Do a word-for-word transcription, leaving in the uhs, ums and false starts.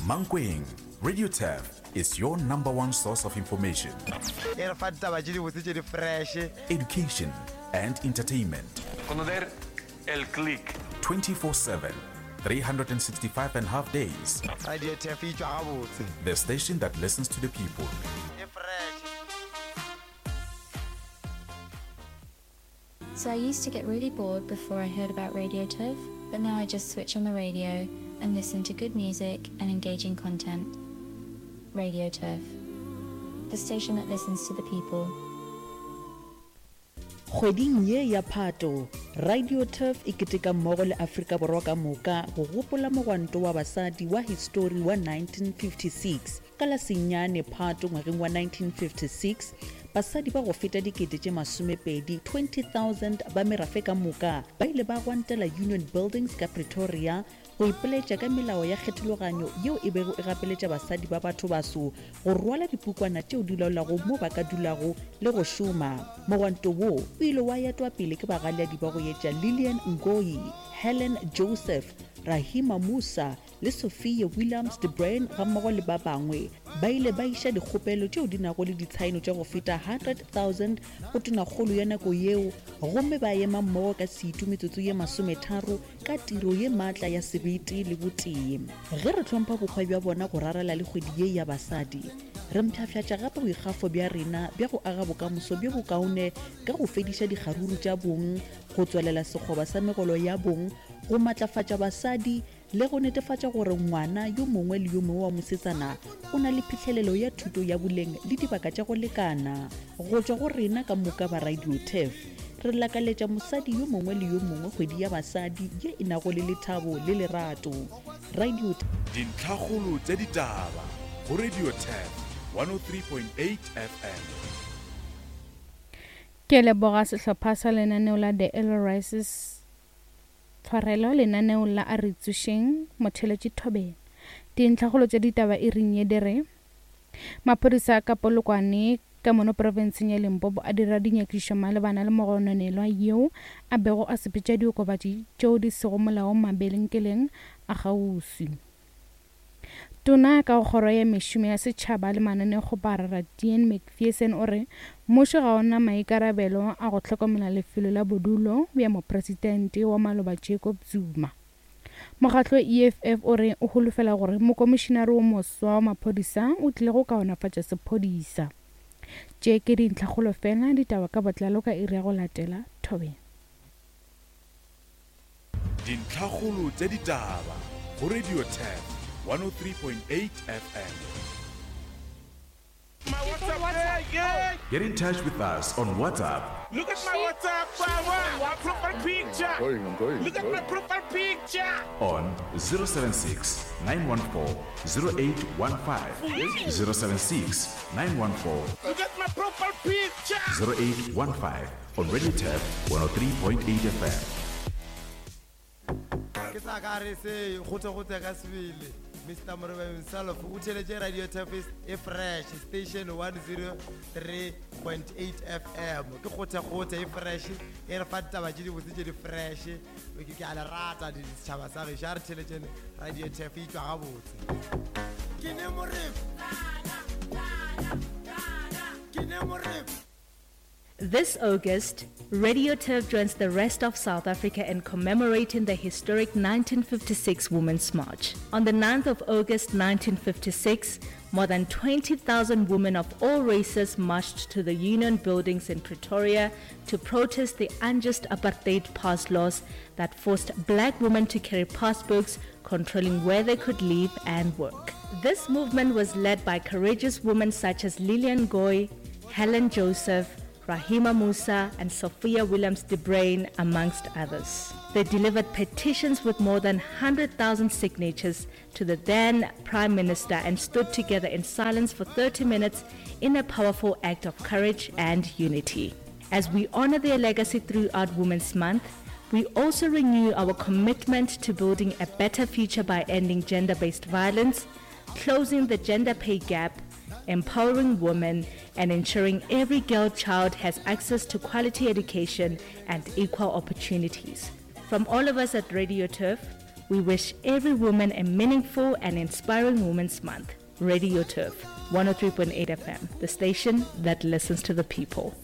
Mankweng, Radio Turf is your number one source of information. E re fa ditaba tše dibotse tše di fresh. Education and entertainment. Conocer el click. twenty-four seven, three hundred and sixty-five and a half days. Radio Turf e tšwa gabotse. The station that listens to the people. E fresh. So I used to get really bored before I heard about Radio Turf, but now I just switch on the radio and listen to good music and engaging content. Radio Turf, the station that listens to the people. Kgweding ye ya Phato, Radio Turf e keteka mmogo le Afrika Borwa ka moka go gopola mogwanto wa basadi wa histori wa nineteen fifty-six. Ka la senyane Phato ngwageng wa nineteen fifty-six, basadi ba go feta dikete tše masomepedi, twenty thousand ba merafe ka moka ba ile ba gwantela Union Buildings ka Pretoria go ipoletša ka melao ya kgethologanyo yeo e bego e gapeletša basadi ba batho baso go rwala dipukwana tšeo di laolago mo ba ka dulago le go šoma. Mogwanto wo o ile wa etwa pele ke bagaleadi ba go etša Lillian Ngoyi, Helen Joseph, Rahima Moosa le Sophia Williams de Bruyn gammogo le ba bangwe. Ba ile ba iša dikgopelo tšeo di nago le ditshaeno tša go feta hundred thousand go tonakgolo ya nako yeo, gomme ba ema mmogo ka setu metsotso ye masometharo ka tiro ye maatla ya sebete le botee. Ge re hlompha bokgwa bja bona go rarela le kgwedi ye ya basadi, re mpshafšatša gape boikgafo bja rena bja go aga bokamoso bjo bokaone ka go fediša dikgaruru tša bong, go tswelela sekgoba sa megolo ya bong, go matlafatša basadi le go netefatša gore ngwana yo mongwe le yo mongwe wa mosetsana o na le phihlelelo ya thuto ya boleng le dibaka tša go lekana. Go tšwa go rena ka moka ba Radio Turf, re lakaletša mosadi yo mongwe le yo mongwe kgwedi ya basadi ye e nago le lethabo le lerato. Radio Turf. Dintlhakgolo tša ditaba go Radio Turf one oh three point eight F M. Ke leboga sehlopha sa lenaneo la The Early Rises tshwarelo lenaneo la a re tsošeng motheletši Thobela. Dintlhakgolo tša ditaba e reng ye di re maphodisa a ka Polokwane ka mono profenseng ya Limpopo a dira dinyakišišo malebana le mogononelwa yeo a bego a sepetša diokobatši tšeo di sego molaong mabenkeleng a kgauswi. Tona ka kgoro ya mešomo ya setšhaba le mananeokgoparara Dean Macpherson o re mmušo ga ona maikarabelo a go hlokomela lefelo la bodulo bja mopresidente wa maloba Jacob Zuma. Mokgatlo E F F o re o holofela gore mokomišinare wo moswa wa maphodisa o tlile go kaonafatša sephodisa. Tše ke dintlhakgolo fela, ditaba ka botlalo ka iri ya go latela. Thobela. Dintlhakgolo tša ditaba go Radio Turf one oh three point eight F M. My WhatsApp, yeah, yeah. Get in touch with us on WhatsApp. Look at my WhatsApp, my, my profile picture. I'm going, I'm going, Look I'm at my going. profile picture. On zero seven six, nine one four, zero eight one five. zero seven six, nine one four. Look at my profile picture. zero eight one five on Radio Turf one oh three point eight F M. Ke sa ka re se gote gote ka sebele. Mister Morebe himself o theletše Radio Turf e fresh station one oh three point eight F M. Ke gote gote e fresh e re fa ditaba tše dibotse tše di fresh. Ke ke a le rata di setšhaba sa gešo, a re theletšeng Radio Turf e tšwa gabotse. Ke ne Morebe. Ke ne Morebe. This August, Radio Turf joins the rest of South Africa in commemorating the historic nineteen fifty-six Women's March. On the ninth of August nineteen fifty-six, more than twenty thousand women of all races marched to the Union buildings in Pretoria to protest the unjust apartheid pass laws that forced black women to carry passbooks controlling where they could live and work. This movement was led by courageous women such as Lillian Ngoyi, Helen Joseph, Rahima Moosa and Sophia Williams de Bruyn, amongst others. They delivered petitions with more than hundred thousand signatures to the then Prime Minister and stood together in silence for thirty minutes in a powerful act of courage and unity. As we honor their legacy throughout Women's Month, we also renew our commitment to building a better future by ending gender-based violence, closing the gender pay gap, empowering women, and ensuring every girl child has access to quality education and equal opportunities. From all of us at Radio Turf, We wish every woman a meaningful and inspiring Women's Month. Radio Turf, one oh three point eight F M, the station that listens to the people.